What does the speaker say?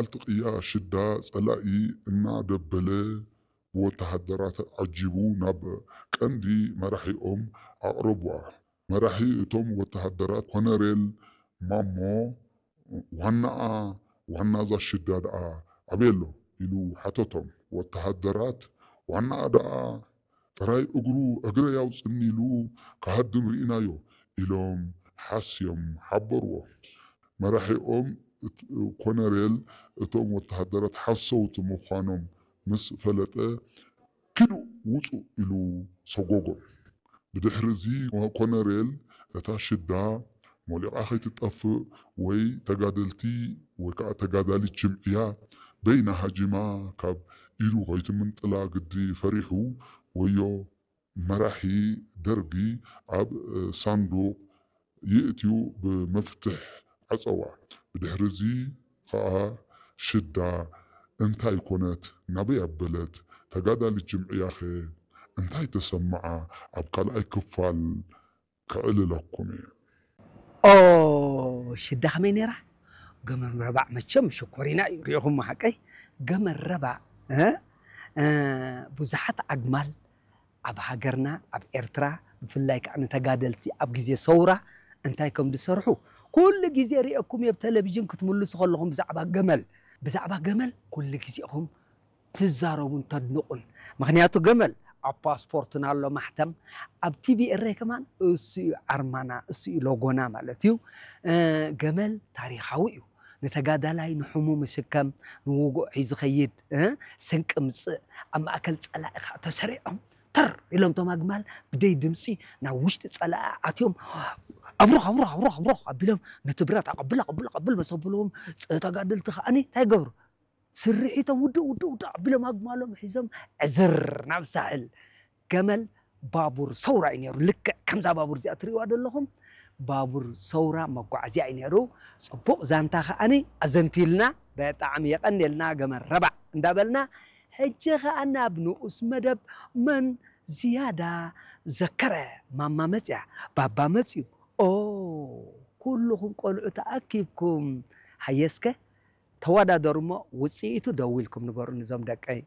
በዓልቲ ቅያ ሽዳ ጸላኢ እናደበለ ብወተሃደራት ዓጂቡ ናብ ቀንዲ መራሒኦም ኣቕረብዋ። መራሒ እቶም ወተሃደራት ኮነሬል ማሞ ዋናኣ ዋናዛ ሽዳ ደኣ ኣበይ ኣሎ ኢሉ ሓተቶም። ወተሃደራት ዋናኣ ደኣ ጥራይ እግሩ እግረይ ኣውጽኒ ኢሉ ክሃድም ርኢናዮ ኢሎም ሓስዮም ሓበርዎ። መራሒኦም ኮነሬል እቶም ወተሃደራት ሓሰውቲ ምዃኖም ምስ ፈለጠ ኪዱ ውጹ ኢሉ ሰጎጎም። ብድሕሪ እዚ ኮነሬል እታ ሽዳ ሞሊቓ ከይትጠፍእ ወይ ተጋደልቲ ወይ ከዓ ተጋዳሊት ጅምዕያ በይና ሃጂማ ካብ ኢዱ ከይትምንጥላ ግዲ ፈሪሑ ወዮ መራሒ ደርጊ ኣብ ሳንዱቕ ይእትዩ ብመፍትሕ ዓጸዋ። ብድሕሪ እዚ ኸኣ ሽዳ እንታይ ኮነት ናበይ ኣበለት ተጋዳሊት ጅምዕያኸ እንታይ ተሰምዓ ኣብ ካልኣይ ክፋል ከዕልለኩም እየ። ኦ ሽዳ ከመይ ነይራ? ገመል ረባዕ መቸም ሽኮሪና እዩ ሪኢኹም ሓቀይ ገመል ረባዕ እ? እ፣ ብዙሓት ኣግማል ኣብ ሃገርና ኣብ ኤርትራ ብፍላይ ከዓ ንተጋደልቲ ኣብ ግዜ ሰውራ እንታይ ከም ዝሰርሑ ኩሉ ግዜ ሪኤኩም እየ ብቴሌቪዥን ክትምልሱ ከለኹም ብዛዕባ ገመል ብዛዕባ ገመል ኩሉ ግዜኹም ትዛረቡን ተድንቑን። ምኽንያቱ ገመል ኣብ ፓስፖርትና ኣሎ ማሕተም፣ ኣብ ቲቪ ኤረይ ከማን እሱ እዩ ዓርማና፣ እሱ እዩ ሎጎና ማለት እዩ። ገመል ታሪኻዊ እዩ። ንተጋዳላይ ንሕሙ ምሽከም ንውጉእ ሒዙ ኸይድ ስንቂ ምፅእ ኣብ ማእከል ፀላኢ ከዓ ተሰሪዖም ተር ኢሎም ቶም ኣግማል ብደይ ድምፂ ናብ ውሽጢ ፀላኢ ኣትዮም ኣብሩኽ ኣብሩኽ ኣብሩኽ ኣብሩኽ ኣቢሎም ነቲ ብረት ኣቐብል ኣቐብል ኣቐብል መሰብልዎም ተጋደልቲ ከዓኒ እንታይ ይገብሩ ስርሒቶም ውድእ ውድእ ውድእ ኣቢሎም ኣግማሎም ሒዞም ዕዝር ናብ ሳሕል ገመል ባቡር ሰውራ እዩ ነይሩ። ልክዕ ከምዛ ባቡር እዚኣ ትርእይዋ ዘለኹም ባቡር ሰውራ መጓዓዝያ እዩ ነይሩ። ፅቡቕ ዛንታ ከዓኒ ኣዘንቲልና ብጣዕሚ የቐንየልና ገመል ረባዕ እንዳበልና ሕጂ ከኣ ናብ ንኡስ መደብ መን ዝያዳ ዘከረ ማማ መፅያ ባባ መፅዩ ኦ ኩልኹም ቆልዑ ተኣኪብኩም ሃየስከ ተወዳደሩ እሞ ውፅኢቱ ደው ኢልኩም ንገሩኒ እዞም ደቀይ።